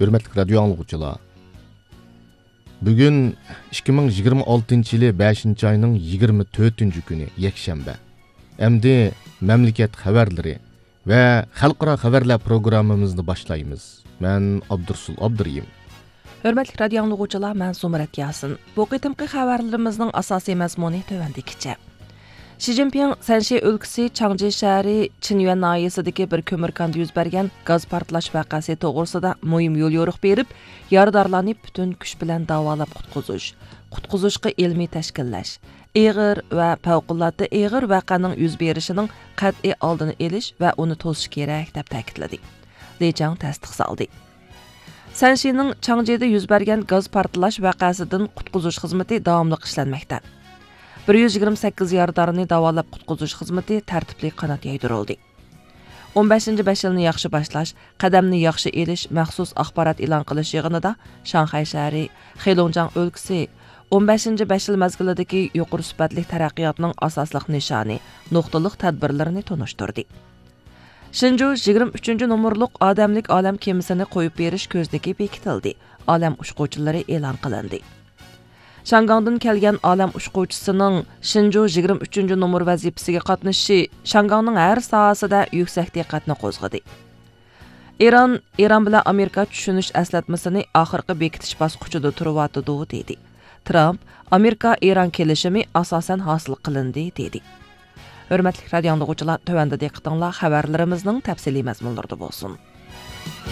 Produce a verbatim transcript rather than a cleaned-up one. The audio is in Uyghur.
ھۆرمەتلىك رادىيو ئاڭلىغۇچىلار، بۈگۈن ئىككى مىڭ يىگىرمە ئالتىنچى يىلى بەشىنچى ئاينىڭ يىگىرمە تۆتىنچى كۈنى، يەكشەنبە. ئەمدى مەملىكەت خەۋەرلىرى ۋە خەلقئارا خەۋەرلەر پروگراممىمىزنى باشلايمىز. مەن ئابدۇرسۇل ئابدۇرېھىم. ھۆرمەتلىك رادىيو ئاڭلىغۇچىلار، مەن زۇمرەت ياسىن. بۇ قېتىمقى خەۋەرلىرىمىزنىڭ ئاساسىي مەزمۇنى تۆۋەندىكىچە. شى جىنپىڭ سەنشى ئۆلكىسى چاڭجى شەھىرى چىنيۈەن ناھىيەسىدىكى بىر كۆمۈر كاندا يۈز بەرگەن گاز پارتلاش ۋەقەسى توغرىسىدا مۇھىم يوليورۇق بېرىپ، يارىدارلارنى پۈتۈن كۈچ بىلەن داۋالاپ قۇتقۇزۇش، قۇتقۇزۇشقا ئىلمىي تەشكىللەش، ئېغىر ۋە پەۋقۇلئاددە ئېغىر ۋەقەنىڭ يۈز بېرىشىنىڭ قەتئىي ئالدىنى ئېلىش ۋە ئۇنى توسۇش كېرەك، دەپ تەكىتلىدى. لى چاڭ تەستىقسالدى. سەنشىنىڭ چاڭجىدا يۈز بەرگەن گاز پارتلاش ۋەقەسىدىن قۇتقۇزۇش خىزمىتى داۋاملىق ئىشلەنمەكتە. بىر يۈز يىگىرمە سەككىز يارىدارنى داۋالاپ قۇتقۇزۇش خىزمىتى تەرتىپلىك قانات يايدۇرۇلدى. ئون بەشىنچى بەش يىلنى ياخشى باشلاش، قەدەمنى ياخشى ئېلىش مەخسۇس ئاخبارات ئېلان قىلىش يىغىنىدا شاڭخەي شەھىرى، خېلۇڭجياڭ ئۆلكىسى ئون بەشىنچى بەش يىل مەزگىلىدىكى يۇقىرى سۈپەتلىك تەرەققىياتنىڭ ئاساسلىق نىشانى، نۇقتىلىق تەدبىرلىرىنى تونۇشتۇردى. شېنجۇ يىگىرمە ئۈچىنچى نومۇرلۇق ئادەملىك ئالەم كېمىسىنى قويۇپ بېرىش كۆزنىكى بېكىتىلدى. ئالەم ئۇچقۇچىلىرى ئېلان قىلىندى. شياڭگاڭدىن كەلگەن ئالەم ئۇچقۇچىسىنىڭ شېنجۇ يىگىرمە ئۈچىنچى نومۇر ۋەزىپىسىگە قاتنىشىشى شياڭگاڭنىڭ ھەر ساھەسىدە يۈكسەك دىققەتنى قوزغىدى. ئىران، ئىران بىلەن ئامېرىكا چۈشىنىش ئەسلەتمىسىنى ئاخىرقى بېكىتىش باسقۇچىدا تۇرۇۋاتىدۇ، دېدى. ترامپ، ئامېرىكا ئىران كېلىشىمى ئاساسەن ھاسىل قىلىندى، دېدى. ھۆرمەتلىك رادىيو ئاڭلىغۇچىلار، تۆۋەندە دىققىتىڭلار خەۋەرلىرىمىزنىڭ تەپسىلىي مەزمۇنلىرىدا بولسۇن.